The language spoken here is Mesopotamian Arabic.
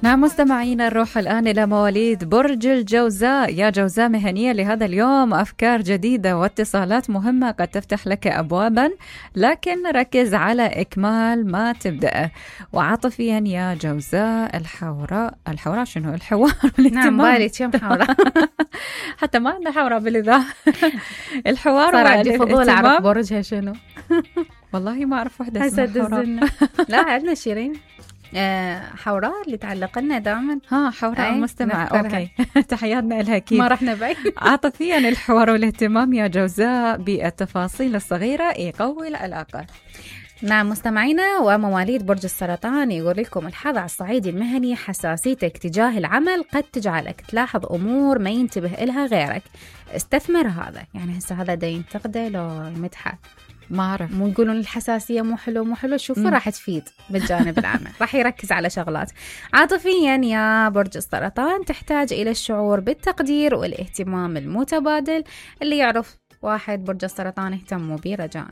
نعم مستمعينا، نروح الآن إلى مواليد برج الجوزاء. يا جوزاء، مهنية لهذا اليوم، أفكار جديدة واتصالات مهمة قد تفتح لك أبوابا، لكن ركز على إكمال ما تبدأ. وعاطفيا يا جوزاء، الحوراء شنو؟ الحوار نعم بالي كم حوراء حتى ما عندنا حوراء بالإذاعة. الحوار صار عندي فضول أعرف برجها شنو. والله ما أعرف وحدة اسمها حوراء. لا عندنا شيرين حوراء اللي تعلق لنا دائما. حوراء المستمعة. أوكي. تحياتنا لها أكيد. ما رحنا بعيد. عاطفيا الحوار والاهتمام يا جوزاء بالتفاصيل الصغيرة يقوي العلاقة. نعم مستمعينا، ومواليد برج السرطان يقول لكم الحظ على الصعيد المهني، حساسيتك تجاه العمل قد تجعلك تلاحظ أمور ما ينتبه إلها غيرك. استثمر هذا. يعني هسه هذا دا ينتقده لو يمدحه؟ ما أعرف. مو يقولون الحساسية مو حلو، شوفوا راح تفيد بالجانب العمل. راح يركز على شغلات. عاطفيا يا برج السرطان، تحتاج إلى الشعور بالتقدير والاهتمام المتبادل. اللي يعرف واحد برج السرطان اهتموا به رجاءً.